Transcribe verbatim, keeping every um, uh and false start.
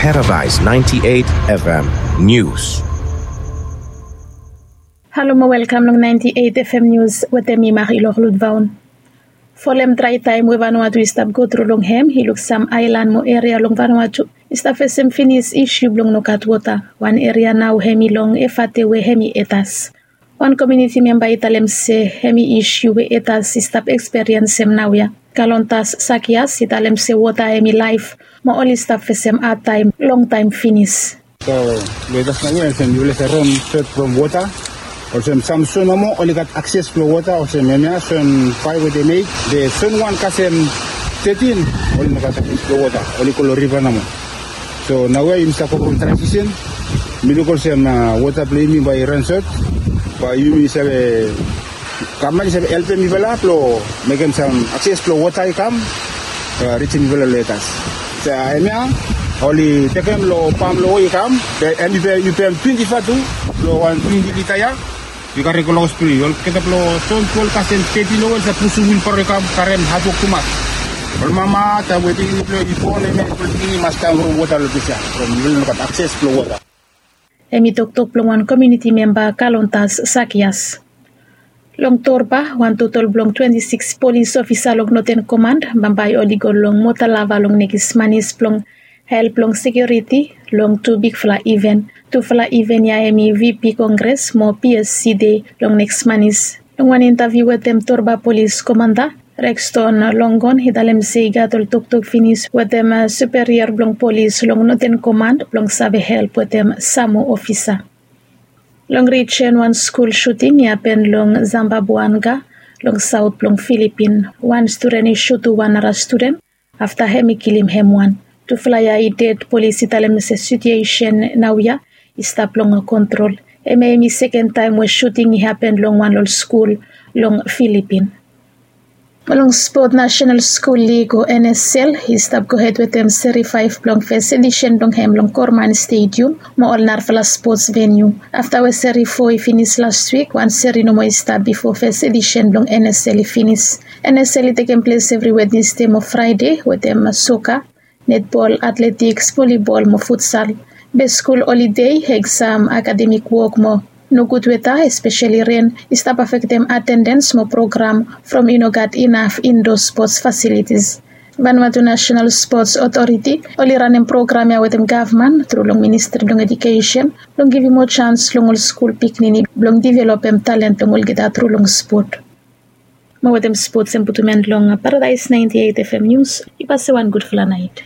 Paradise ninety-eight F M News. Halo mo welkam long ninety-eight F M News wetem mi Marie Lorlud Vaun. Folem drae taem we Vanuatu i stap gotru long hem i luk sam aelan mo eria long Vanuatu i stap fesem finis isiu blong nogat wota. Wan eria nao hem i long Efate we hem i Etas. Wan komiuniti memba i talem se hem i isiu we Etas i stap eksperiensem naoia. Kalontas Sakias i talem se wota hem i laef mo oli stap fesem adtaem longtaem finis. So long Etas naoia olsem yufala save ran sot from wota. Olsem sam son nomo oli gat akses blong wota olsem hemia son faef we de mek be son wan kasem tetin oli no gat akses blong wota, oli go long riva nomo. So naoia yumi stap go from transisen. Mi luk olsem wota blong yumi bae i ran sot. Bae yumi save, gavman i save helpem mifala blong mekem sam akses blong wota i kam rijim mifala long Etas. Hemia oli tekem long pam long we i kam. Be hem i pem twenti fatu long wan twenti lita ya. Yu karim go long hospital olgeta blong son twelve kasem tetin long we oli save pusum wilbaro i kam karem hatwok tumas. Ol mama taem we pikinini blong yu i bon hemia ol pikinini i mas kam from wota long ples ya from yufala no gat akses blong wota. Hem i toktok blong wan komiuniti memba Kalontas Sakias. Long Torba wan totol blong twenti sikis polis ofisa long Noten Komand bambae oli go long Motalava long nekis manis blong help long sekiuriti long tu bigfala iven. Tufala iven ya hem i VP Kongres mo PSC Dei long nekis manis. Long wan intaviu wetem Torba Polis Komanda Rexton Longon i talem se i gat ol toktok finis wetem superior blong polis long Noten Komand blong save help wetem sam moa ofisa. Long rijen wan skul suting i hapen long Zambabuanga long saot blong Filipin. Wan studen i sutu wan nara studen afta hem i kilim hem wan. Tufala ya i ded. Polis i talem se situesen naoia i stap long kontrol. Hemia hem i seken taem we suting i hapen long wan long ol skul long Filipin. Mo long spot, Nasenal Skul Lig o NSL i stap gohed wetem seri faef blong fes edisen blong hem long Korman Stedium mo ol narafala spots veniu. Afta we seri fo i finis las wik, wan seri nomo i stap bifo fes edisen blong NSL i finis. NSL i tekem ples evri Wednesde mo Fraede wetem soka, netbol, atletiks, volibol mo futsal. Be skul holide, eksam, akademik wok mo nogud weta, espeseli ren, i stap afektem atendens mo program from i no gat inaf indo spots fasilitis. Vanuatu Nasenal Spots Otoriti oli ranem program ya wetem gavman tru long Ministri blong Ejukesen blong givim moa jans long ol skul pikinini blong divelopem talen blong olgeta tru long spot. Mo wetem spots hem putum en long Paradise ninety-eight F M News. Yu pase wan gudfala naet.